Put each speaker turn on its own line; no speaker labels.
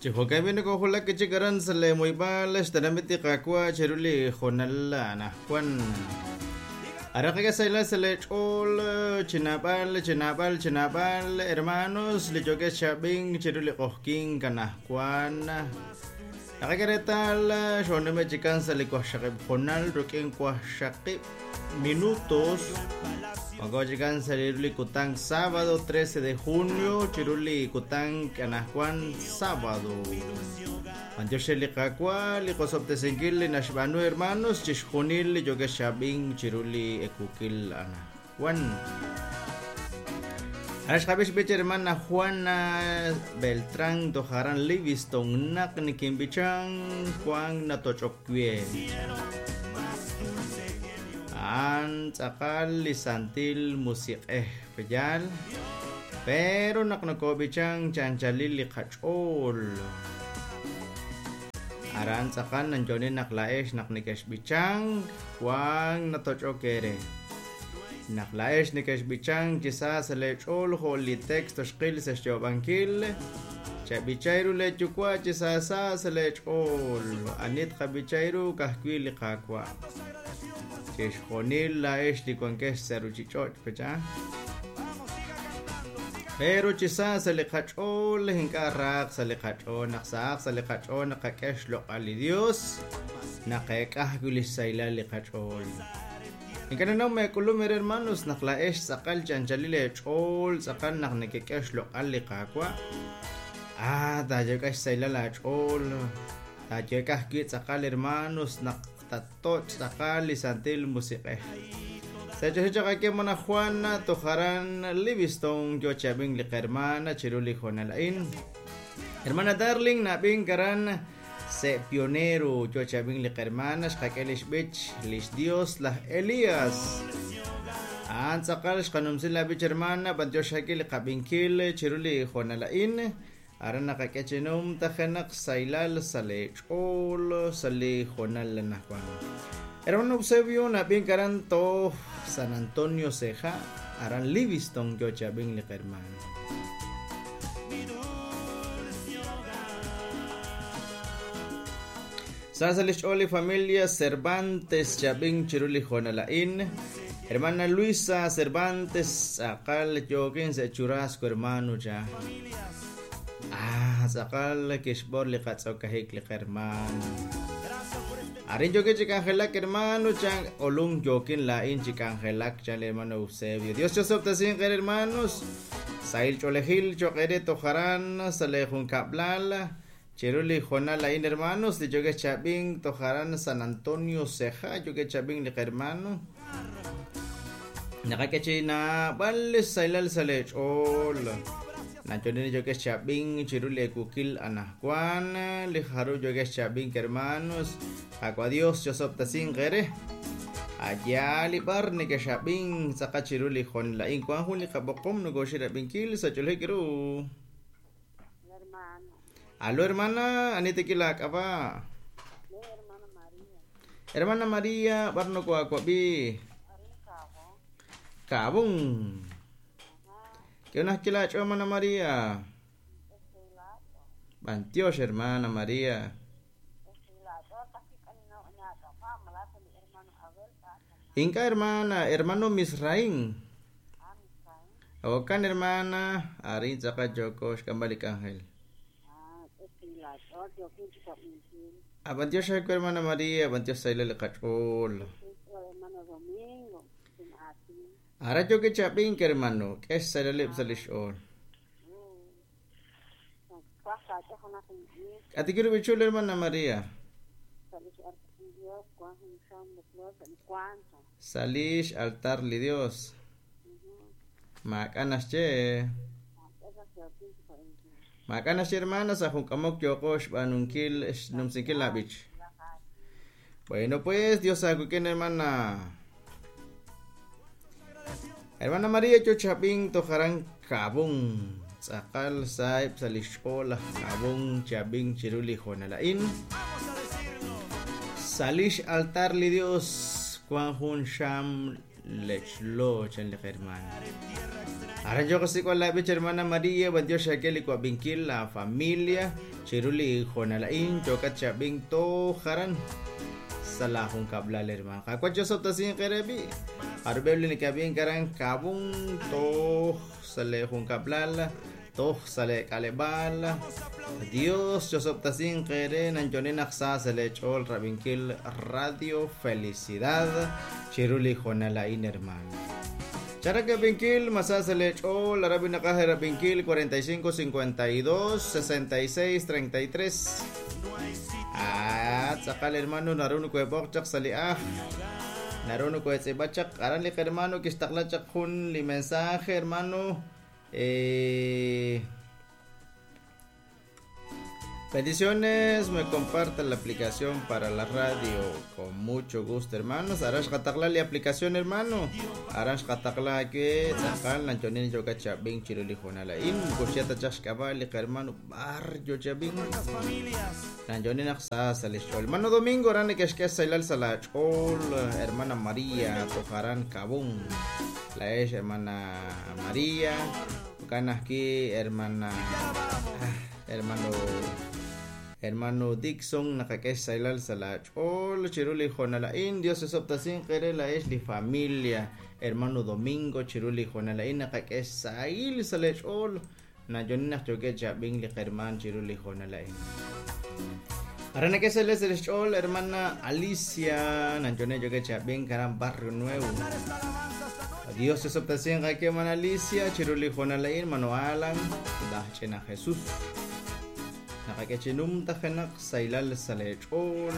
Chi jo'kan b'i' nokojulak chik aran sa' lee muheb'aal xtenamit li Qaawa' chiru li hoonal anajwan. Aran qak'e sa' lee ch'ool chi naab'al, chi naab'al, chi naab'al, hermanos, li yookex chi ab'ink chiru li q'ojkink anajwan. Naqak'e reetal xoonume' chikan sa' li waqxaqib' hoonal rik'in waqxaqib' minutos. Wanko chikan sa' li kutan sábado 13 de junio chiru li kutan anajwan sábado. B'antiox re li Qaawa' li qosob'tesinkil li naxb'aanu hermanos chixjunil li yookex chi ab'ink chiru li ekuukil anajwan. Aran xqab'i xb'ich hermana Juana Beltrán toj aran Livingston naq nikinb'ichan wank natoch'ok we. A'an tz'aqal li Santil Musiq'ej, pe'yaal? Pero naq nokob'ichank chi anchalil li qach'ool, aran tz'aqal nanyo'oni naq laa'ex naq nekexb'ichank, wank natoch'ok eere. Naq laa'ex nekexb'ichank chi sa sa' lee ch'ool jo' li texto xqil sa' xyoob'ankil, chab'ichay ru lee Yuwa' chi sa sa sa' lee ch'ool. Ani tqab'ichay ru ka'ajwi' li Qaawa'. Chixjunil laa'ex li wankex sa' ruchich'och', pecha? Pero chi sa sa' li qach'ool, ink'a' rahaq sa' li qach'ool. Naq sahaq sa' li qach'ool naqak'e xloq'al li Dios, naqeek'a ajwi' lix sahilal li qach'ool. Ink'a' ninnaw ma eek'ulum eere hermanos naq laa'ex tz'aqal chi anchalil eech'ool tz'aqal naq nekek'e xloq'al li Qaawa'. Ah, taayek'a xsahilal aach'ool, taayek'a ajwi' tz'aqal hermanos naq tatoch' tz'aqal li Santil Musiq'ej. Sa' choxa chaq ake hermana Juana toj aran Livingston yoo chi ab'ink li qahermana chiru li hoonal a'in. Hermana Darling na'ab'ink aran Se' Pionero yoo chi ab'ink li qahermana xqak'e lix b'ich lix Dios laj Elías. A'an tz'aqal xqanumsi la b'ich hermana b'antiox xak'e li qab'inkil chiru li hoonal a'in. Aran naqak'e chi numtajenaq sahilal sa' lee ch'ool sa' li hoonal anajwan. Hermano Eusebio nab'ink aran toj San Antonio Ceja, aran Livingston yoo chi ab'ink li qahermana. Sa sa' lix ch'ool li familia Cervantes chab'ink chiru li hoonal a'in. Hermana Luisa Cervantes tz'aqal yookin sa' churrasco hermano cha. Ah, tz'aqal kixb'or li qatz'okajik li qahermano. Arin yookin chi k'anjelak hermano chan olunk yookin laa'in chi k'anjelak chan li hermano Eusebio. Dios chosob'tesinq eere hermanos. Sahil ch'oolejil cho'q eere toj aran sa' lee junkab'lal. Chiru li hoonal a'in hermanos li yookex chi ab'ink toj aran San Antonio Ceja yookex chi ab'ink li qahermano. Naqak'e chi naab'al li sahilal sa' lee ch'ool. Nacholini yookex chi ab'ink chiru li ekuukil anajwan li jaru yookex chi ab'ink hermanos. Qaawa' Dios chosob'tesinq eere. A'yaal li b'ar nekex'ab'ink tz'aqal chiru li hoonal a'in wank jun li qab'oqom nokoxik rab'inkil sa' ch'oolej ru.
Hermano.
Aló hermana, ani tekil aak'ab'a'?
Le hermana María.
Hermana María, b'ar nokoaawab'i?
Arin Kaabong.
Kaabong. K'e unaj kilaach'o hermana María.
Estilato.
B'antiox hermana María. Ink'a' hermana, hermano Misraín. Jo'kan hermana, arin tz'aqal yooko xk'amb'al li k'anjel. Ah, b'antiox aawe hermana María, b'antiox sahilal li qach'ool. Aran yookin chi ab'ink hermano, k'e xsahilaleb' sa' li xch'ool. K'atikil b'ichul hermana María. Sa' lix altar li Dios. Maak'a' naxye. Maak'a' naxye hermana sa' jun k'amok yooqo xb'aanunkil xnumsinkil la b'ich. Bueno pues, Dios aawik'in hermana. Hermana María yo chi ab'ink toj aran Kaabong. Tz'aqal saheb' sa' lix ch'ool laj Kaabong chi ab'ink chiru li hoonal a'in. Sa' lix altar li Dios wan jun xam lechlo chan li qahermana. Aran yo qasik'b'al laab'ich hermana María, b'antiox xaak'e li wab'inkil la familia chiru li hoonal a'in yookat chi ab'ink toj aran sa' laajunkab'lal hermano. Qaawa' chosob'tasinq eere b'i'. Jarub'eb' li neke'ab'ink aran Kabun toj sa' leejunkab'lal toj sa' leek'aleb'aal. Dios chosob'tasinq eere nanyo'ne naq sa sa' leech'ool rab'inkil Radio Felicidad chiru li hoonal a'in hermano. Charak ab'inkil ma sa sa' leech'ool arab'i naqaj rab'inkil 45 52 66 33. Ah, tz'aqal hermano naru nokohe'b'oq chaq sa' li ajl. Naru nokohe'tz'iib'a chaq aran li hermano kixtaqla chaq jun li mensaje hermano. Bendiciones, me compartan la aplicación para la radio con mucho gusto, hermanos. Aran xqataqla li aplicación, hermano. Aran xqataqla ke tz'aqal nanchonin yoka chab'in chiru li hoonal a'in. Moko xya ta chaq xk'ab'a' li hermano b'ar yo chab'in. Nanchonin naq sa sa' li xch'ool. Hermano Domingo aran neke'xk'e xsaylal sa' la ch'ool, hermana María toj aran Kabun. La ex hermana María, jo'kan ajwi' hermana hermano hermano Dixon naqak'e xsaylal sa' la ch'ool chiru li hoonal a'in. Dios osob'tasinq eere la ex li familia hermano Domingo chiru li hoonal a'in naqak'e xsahil sa' le ch'ool nayonin naq yookeb' chi ab'ink li herman chiru li hoonal a'in. Aran nak'e sa' li xch'ool hermana Alicia nanyonen yookeb' chi ab'ink aran Barrio Nuevo. Dios osob'tasinq ake hermana Alicia chiru li hoonal a'in mano Alan laj ch'ina Jesus. Naqak'e chi numtajenaq saylal sa' le ch'ool.